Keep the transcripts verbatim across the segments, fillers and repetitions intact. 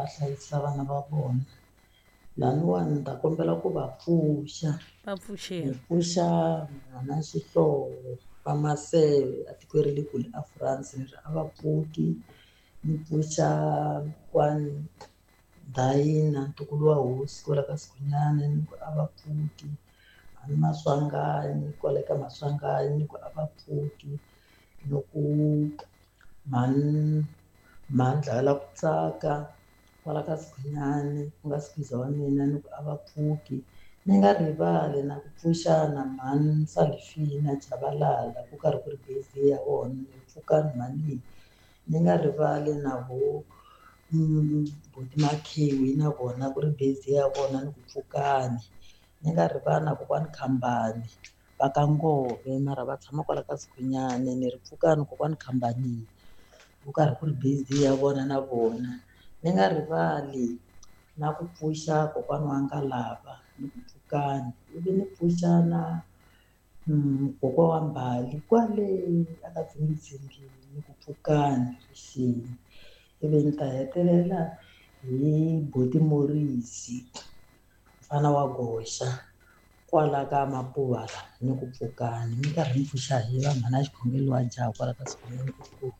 va hlayisa vana va vona. Laniwani ni ta kombela ku va pfuxa. Va Ni pfuxeni. pfuxa mhana Xihlovo va Maseve a tikweni ra le kule a France ni ri a va pfuki. Ni pfuxa kokwani Dayina ntukulu wa hosi kwala ka Sikhunyani ni ku a va pfuki. Mhani Maswanganyi kwale ka Maswanganyi ni ku a va pfuki. Loko mhani Mhandla ku tsaka kwala ka Sikhunyani ku nga Sikhuza wa mina ni ku a va pfuki. Ni nga rivali na ku pfuxa na mhani Salifina Chabalala ku karhi ku ri birthday ya vona ni pfukani mhani. Ni nga rivali na vo buti Makhewi na vona ku ri birthday ya vona ni ku pfukani. Ni nga rivali na kokwani Khambani va ka Ngove mara va tshama kwala ka Sikhunyani ni ri pfukani kokwani Khambani ku karhi ku ri birthday ya vona na vona. Ni nga rivali na ku pfuxa kokwana wa Ngalava ni ku pfukani ivi ni pfuxa na kokwa wa Mbali kwale a ka Dzingidzingi ni ku pfukani rixeni. Ivi ni ta hetelela hi buti Morisi mfana wa goxa kwala ka Mapuva la ni ku pfukani mi karhi mi pfuxa hi va mhana Xikhongelo wa jaha kwala ka Sikhunyani inkomu.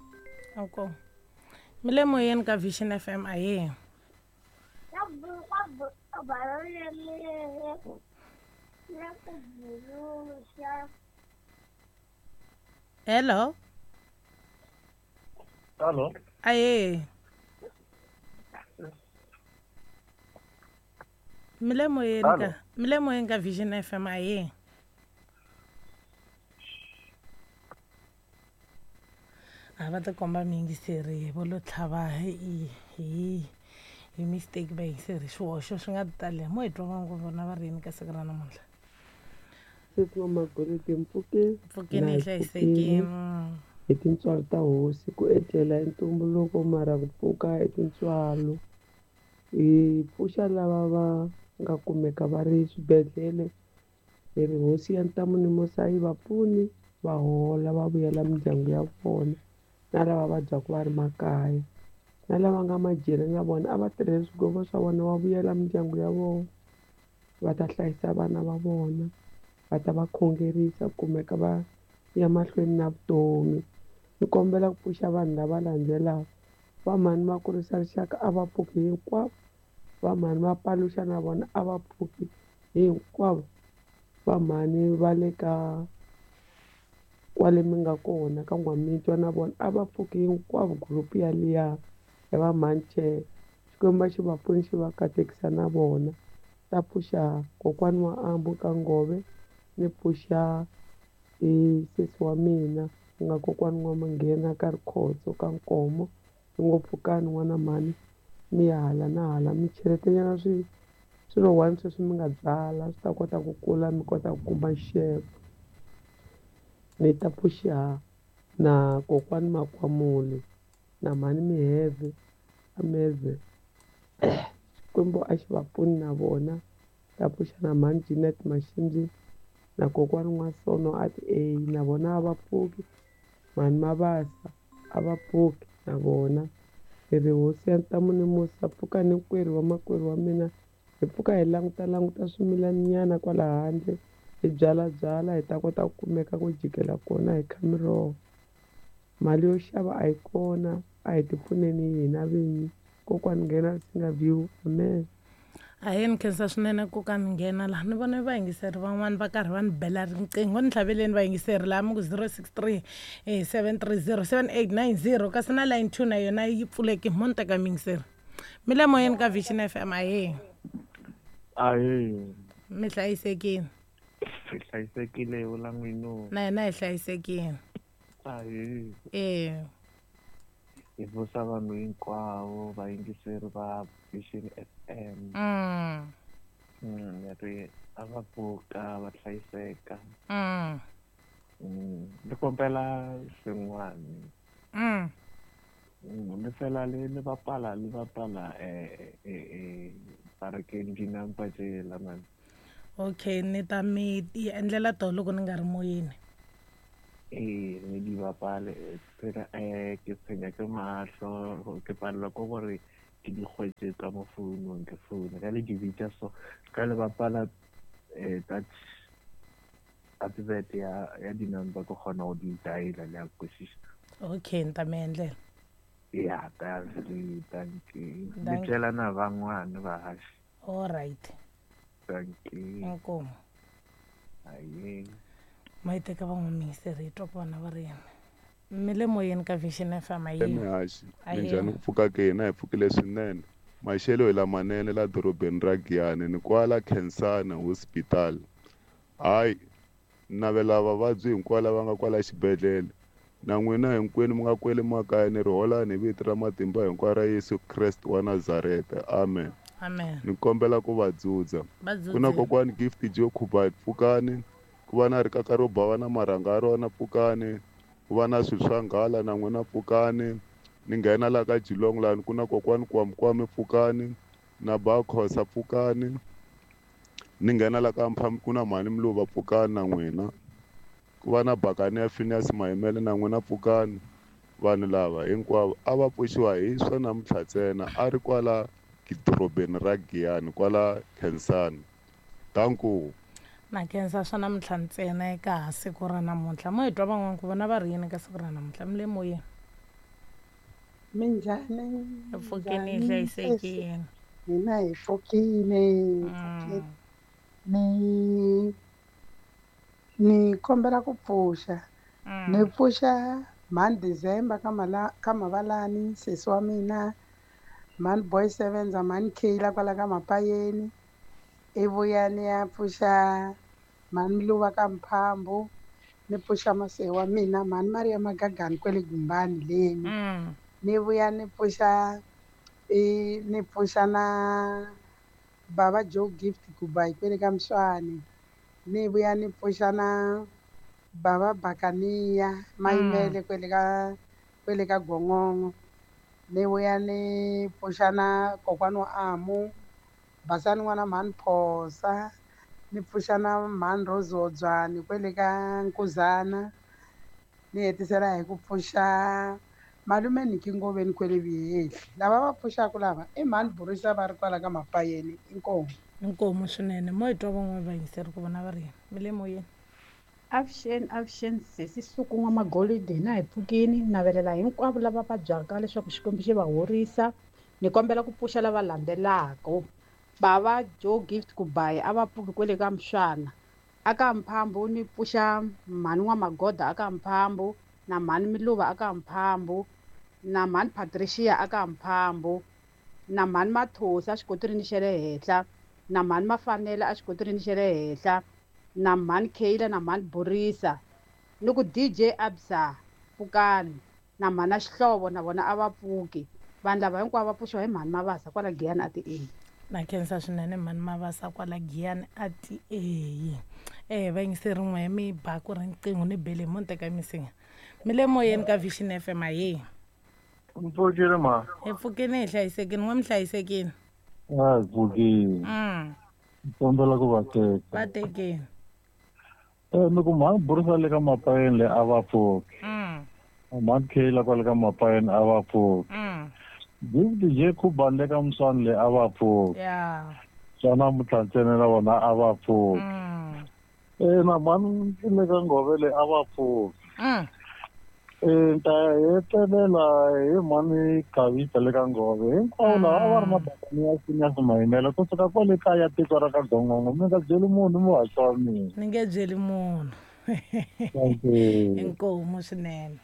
Inkomu. Mi le moyeni ka Vision F M ahee. Hello. Hello. Ahee. Mi le moyeni ka mi le moyeni ka Vision F M ahee. A va tikomba miyingiseri vo lo tlhava hi hi hi mistake va yingiseri swihoxo swi nga tali mo hi twa ngopfu vona va ri yini ka siku ra namuntlha. Sesi wa Magolidi mpfukeni mpfukeni hi hlayisekile hi tintswalo ta hosi ku etlela i ntumbuluko mara ku pfuka i tintswalo. Hi pfuxa lava va nga kumeka va ri swibedhlele hi ri hosi ya ntamu ni musa yi va pfuni va hola va vuyela mindyangu ya vona na lava vabyaka va ri makaya na lava nga majele na vona a va tirheli swigwevo swa vona va vuyela mindyangu ya vona va ta hlayisa vana va vona va ta va khongerisa kumeka va ya mahlweni na vutomi. Ni kombela ku pfuxa vanhu lava landzelaka va mhani va kurisa rixaka a va pfuki hinkwavo va mhani va paluxa na vona a va pfuki hinkwavo va mhani va le ka kwale mi nga kona ka N'wamitwa na vona a va pfuki hinkwavo group ya liya ya va mhani Che Xikwembu xi va pfuni xi va katekisa na vona. Ta pfuxa kokwani wa Ambu ka Ngove ni pfuxa i sesi wa mina ku nga kokwani wa Manghena ka Rikhotso ka Nkomo ni ngo pfukani n'wana mhani mi ya hala na hala mi cheletanyana swi swilo one sweswi mi nga byala swi ta kota ku kula mi kota ku kuma xixevo. Ni ta pfuxa na kokwani Makwamule na mhani Miheve Ameve Xikwembu a xi va pfuni na vona. Ta pfuxa na mhani Jeanette Mashimbyi na kokwani N'wasono a ti A na vona a va pfuki mhani Mabasa a va pfuki na vona. Hi ri hosi ya ntamu ni musa pfuka ni nkwerhu wa makwerhu wa mina hi pfuka hi languta languta swimilaninyana kwala handle hi byala byala hi ta kota ku kumeka ku jikela kona hi kha miroho. Mali yo xava a yi kona a hi ti pfuneni hina vinyi. Kokwani nghena singa view amen. Ahee ni khensa swinene kokani nghena laha ni vona vayingiseri van'wani va karhi va ni bela riqingho ni tlhaveleni vayingiseri laha mi ku zero six three seven three zero seven eight nine zero kasi na line two na yona yi pfuleki mo ni teka miyingiseri. Mi le moyeni ka Vision F M ahee. Ahee. Mi hlayisekile. Hi hlayisekile vula n'wino. Na hina hi hlayisekile. Ahee. Eh. Hi vusa vanhu hinkwavo vayingiseri va Vision F M. Mm. Mm, ri a va pfuka va hlayiseka. Mm. Mm, ni kombela swin'wana. Mm. Mm, ni fela le ni bapala le bapala eh eh eh parakeng dinampa tsela man. Okay, ni ta mi endlela to loko ni nga ri moyeni. Eh, ni di bapale phela eh ke tshwenya ke mahlo ke palelwa ke gore Ke di kgwetse ka mo founung ke founa ka le di bitša so ka le bapala um that advert ya ya di-number ke kgona go di diala le a kwešiša. Okay, ni ta mi endlela. Ya thank thank you. Ni Dankie. byela na van'wana vahaxi. All right. Thank you. Inkomu. Aye. Ma yi teka van'wamiyingiseri hi twa ku vona va ri yini. Mi le moyeni ka Vision F M ayi. Emihaxi Ayi. minjhani ku pfuka ke hina hi pfukile swinene maxelo hi lamanene la dorobeni ra Giyani ni kwala Khensani Hospital. Hayi navela vavabyi hinkwavo lava nga kwala xibedhlele na n'wina hinkwenu mi nga kwele makaya ni ri holani hi vito ra matimba hinkwawo ra Yesu Kreste wa Nazareta. Amen. Amen. Ni kombela ku va dzudza. Va Ku na dzudzile. kokwani Gift Joe Khuba pfukani, ku va na rikaka ro bava na marhanga ya rona pfukani, ku va na swilo swa nghala na n'wina pfukani. Ni nghena laha ka Geelong lani ku na kokwani Kwamkwame pfukani na Bakhosa pfukani. Ni nghena laha ka Mphambi ku na mhani Mluva pfukani na n'wina. Ku va na Bakani ya Phineas Mayimele na n'wina pfukani. Vanhu lava hinkwavo a va pfuxiwa hi swa namuntlha ntsena a ri kwala dorobeni ra Giyani kwala Khensani. Danko. Na khensa swa namuntlha ntsena eka siku ra namuntlha. Mo hi twa van'wana ku vona va ri yini ka siku ra namuntlha. Mi le moyeni. Minjhani? Hi pfukeni hi Minjhani sesi? hlayisekile. Hina hi pfukile, hi pfukile. Mm. Ni ni kombela ku pfuxa. Ni Mm. pfuxa mhani December ka mala ka Mavalani sesi wa mina, mhani Boy Sevenza, mhani Kayla kwala ka Mapayeni. I vuya ni ya pfuxa mhani Mluva ka Mphambu, ni pfuxa mase wa mina mhani Maria Magagani kwele Gumbani leni. Mm. Ni vuya ni pfuxa i ni pfuxa na bava Joe Gift Kubai kwele ka Mswani. Ni vuya ni pfuxa na bava Bakaniya Mm. Mayimele kwele ka kwele ka Gongongo. Ni vuya ni pfuxa na kokwana wa Amu, Basani n'wana mhani Phosa, ni pfuxa na mhani Rose Hodzwani kwele ka Nkuzana. Ni hetisela hi ku pfuxa malume Niki Ngoveni kwele Vuyehli. Lava va pfuxaka lava i mhani Burisa va ri kwala ka Mapayeni inkomu. Inkomu swinene. Mo hi twa van'wana vayingiseri ku vona va ri yini. Mi le moyeni. Avuxeni, avuxeni sesi Suku N'wamagolidi hina hi pfukini navelela hinkwavo lava vabyaka leswaku Xikwembu xi va horisa. Ni kombela ku pfuxa lava landzelaka. Bava Joe Gift Kubayi a va pfuki kwele ka Mswana. Aka Mphambu ni pfuxa mhani N'wamagoda aka Mphambu na mhani Miluva aka Mphambu na mhani Patricia aka Mphambu na mhani Mathosi a xikotirini xa le henhla na mhani Mafanele a xikotirini xa le henhla na mhani Kayla na mhani Borisa ni ku D J Absa pfukani na mhani Xihlovo na vona a va pfuki. Vanhu lava hinkwavo va pfuxiwa hi mhani Mavasa kwala Giyani a ti A. Na khensa swinene mhani Mavasa kwala Giyani a ti A. Eh vayingiseri n'we mi ba ku ri riqingho ni bele mo ni teka misinya. Mi le moyeni ka Vision F M ahe. Mpfukile ma. Hi pfukile hi hlayisekile, n'we mi hlayisekile. A hi pfukile. Mm. Kombela ku va teka. Va tekeni. Eh ni ku mhani Burisa le ka Mapayeni le a va pfuki. Mm. Mhani Kayla kwale ka Mapayeni a va pfuki. Mm. Gift J Khubani le ka Mswani le a va pfuki. Yeah. Swa namuntlha ntsena na vona a va pfuki. Mm. Eh na mhani le ka Ngove le a va pfuki. Mm. Eh ta hetelela hi mhani Khavisa le ka Ngove hinkwavo lava a va ri mabakani ya Phineas Mayimele kusuka kwale kaya tiko ra ka Gongongo mi nga byeli munhu muhaxi wa mina. Ni nge byeli munhu. Thank you. Inkomu swinene.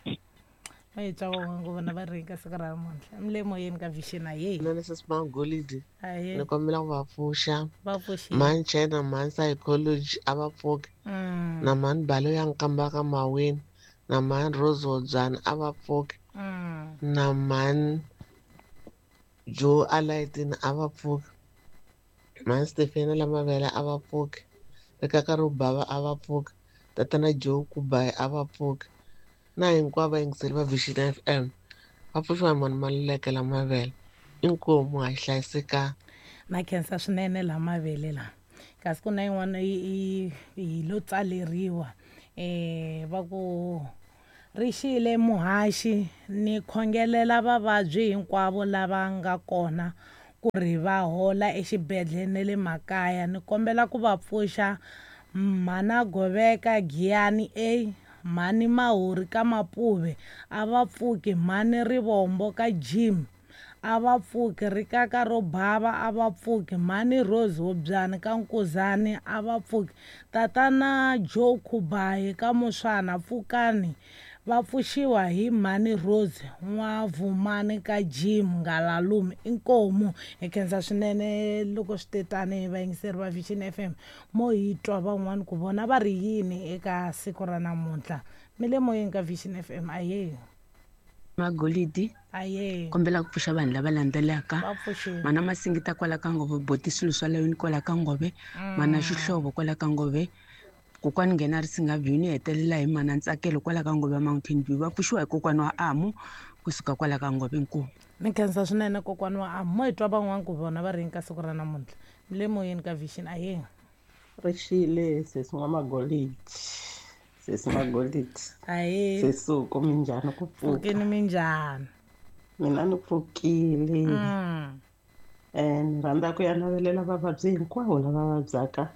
Va hi twa van'wana ku vona va ri ka siku ra namuntlha. Mi le moyeni ka Vision ahe. Mina ni sesi Magolidi. Ahee. Ni kombela ku va pfuxa. Va pfuxile. Mhani China, mhani Psychology a va pfuki. Mm. Na mhani Balo ya Nkamba ka Maweni. Na mhani Rose Hodzwani a va pfuki. Mm. Na mhani Joe Alaitini a va pfuki. Mhani Stefena Lamavele a va pfuki. Rikaka ro bava a va pfuki. Tatana Joe Kubayi a va pfuki. Na hinkwavo vayingiseri va Vision F M va pfuxiwa hi mhani Maluleke Lamavele. Inkomu ha yi hlayisekanga. Na khensa swinene Lamavele la. Kasi ku na yin'wana yi yi yi lo tsaleriwa. Eh va ku Ri xile muhaxi ni khongelela vavabyi hinkwavo lava nga kona ku ri va hola exibedhlele na le makaya. Ni kombela ku va pfuxa mhana Goveka Giyani A, mhani Mahuri ka Mapuve a va pfuki, mhani Rivombo ka Jim a va pfuki, Rikaka ro bava a va pfuki, mhani Rose Hobyani ka Nkuzani a va pfuki, tatana Joe Khubayi ka Muswana pfukani, va pfuxiwa hi mhani Rose N'wavumani ka Jim Ngalalume. Inkomu hi khensa swinene loko swi te tani vayingiseri va Vision F M mo hi twa van'wani ku vona va ri yini eka siku ra namuntlha. Mi le moyeni ka Vision F M. Aye Magolidi aye, kombela ku pfuxa vanhu lava landzelaka. Va pfuxile. Mana Masingita kwala ka Ngove, boti swilo swa layeni kwala ka Ngove, mana Xihlovo kwala ka Ngove, kokwani nghena ri singa view ni hetelela hi mana Ntsakelo kwala ka Ngove Mountain View. Va pfuxiwa hi kokwana wa Amu kusuka kwala ka Ngove. Nkulu ni khensa swinene kokwana wa Amu. Mo hi twa van'wani ku vona va ri yini ka siku ra namuntlha. Mi le moyeni ka Vision. Aye Ri xile sesi N'wamagolidi, sesi Magolidi. Aye Sesuku minjhani ku pfuka? Pfukini minjhani? Mina ni pfukile. Mm. Eh ni rhandza ku ya navelela vavabyi hinkwavo lava vabyaka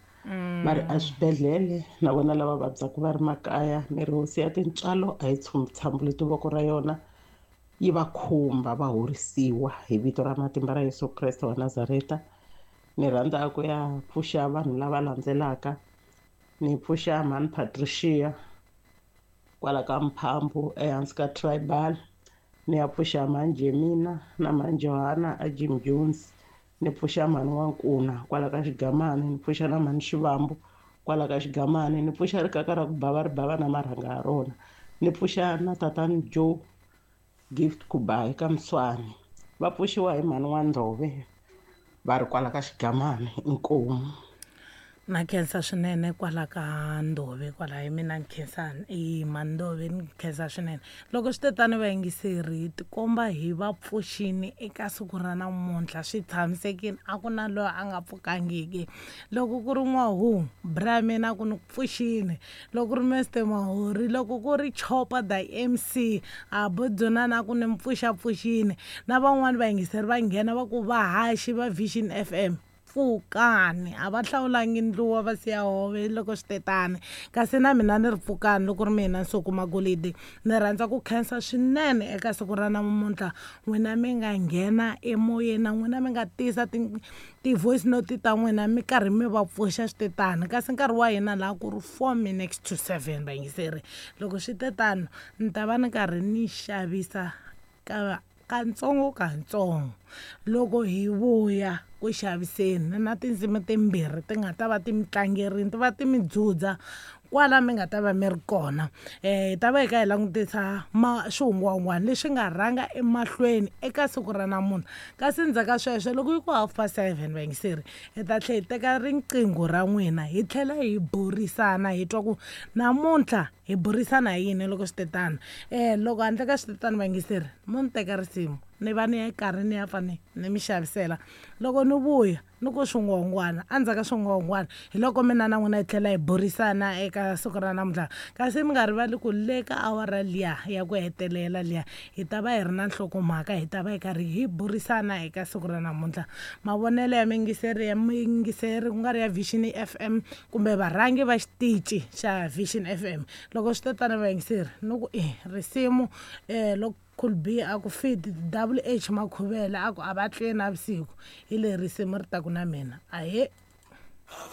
va ri eswibedhlele na vona lava vabyaka va ri makaya. Ni ri hosi ya tintswalo a yi tshambuleti voko ra yona yi va khumba va horisiwa hi vito ra matimba ra Yesu Kreste wa Nazareta. Ni rhandza ku ya pfuxa vanhu lava landzelaka. Ni pfuxa mhani Patricia kwala ka Mphambu ehansi ka Tribal. Ni ya pfuxa mhani Jemina na mhani Johana a Jim Jones. Ni pfuxa mhani N'wankuna kwala ka Xigamani. Ni pfuxa na mhani Xivambu kwala ka Xigamani. Ni pfuxa rikaka ra ku bava ri bava na marhanga ya rona. Ni pfuxa na tatani Joe Gift Kubayi ka Mswani. Va pfuxiwa hi mhani N'wandlove va ri kwala ka Xigamani. Inkomu. Na khensa swinene kwala ka Ndove kwala hi mina ni khensani i Mandove ni khensa swinene. Loko swi te tani vayingiseri tikomba hi va pfuxini eka siku ra namuntlha swi tshamisekile, a ku na loyi a nga pfukangiki. Loko ku ri N'wahu bra mina ku ni ku pfuxini, loko ku ri Mister Mahori, loko ku ri Chopa the M C a bodzonana ku ni mpfuxapfuxini, na van'wani vayingiseri va nghena va ku vahaxi va Vision F M pfukani, a va hlawulangi ndluwa va siya hove loko swi te tani. Kasi na mina ni ri pfukani loko ri mina Nsuku Magolidi. Ni rhandza ku khensa swinene eka siku ra namuntlha n'wina mi nga nghena emoyeni na n'wina mi nga tisa ti-voice note ta n'wina mi karhi mi va pfuxa swi te tani. Kasi nkarhi wa hina laha ku ri four minutes to seven vayingiseri. Loko swi te tano ni ta va ni karhi ni xavisa ka kantsongo kantsongo. Loko hi vuya ku xaviseni na tindzimi timbirhi ti nga ta va ti mi tlangerini, ti va ti mi dzudza kwala mi nga ta va mi ri kona. Eh hi ta va hi kha hi langutisa ma swihungwahungwana leswi nga rhanga emahlweni eka siku ra namuntlha. Kasi ndzhaku ka sweswo loko yi ku half past seven vayingiseri hi ta tlhela hi teka riqingho ra n'wina hi tlhela hi burisana hi twa ku namuntlha hi burisana hi yini loko swi te tano. Eh loko handle ka swi te tano vayingiseri mo ni teka risimu ni va ni ya karhi ni ya pfa ni ni mi xavisela. Loko ni vuya ni ku swihungwahungwana, endzhaku ka swihungwahungwana hi loko mina na n'wina hi tlhela hi burisana eka siku ra namuntlha. Kasi mi nga rivali ku le ka awara liya ya ku hetelela liya hi ta va hi ri na nhlokomhaka, hi ta va hi karhi hi burisana eka siku ra namuntlha. Mavonelo ya miyingiseri ya miyingiseri ku nga ri ya Vision F M kumbe varhangi va xitichi xa Vision F M. Loko swi te tano vayingiseri ni ku i risimu eh loko Cool B a ku fit W H Makhuvela a ku a va tleli navusiku hi leri risimu ri taku na mina. Ahe.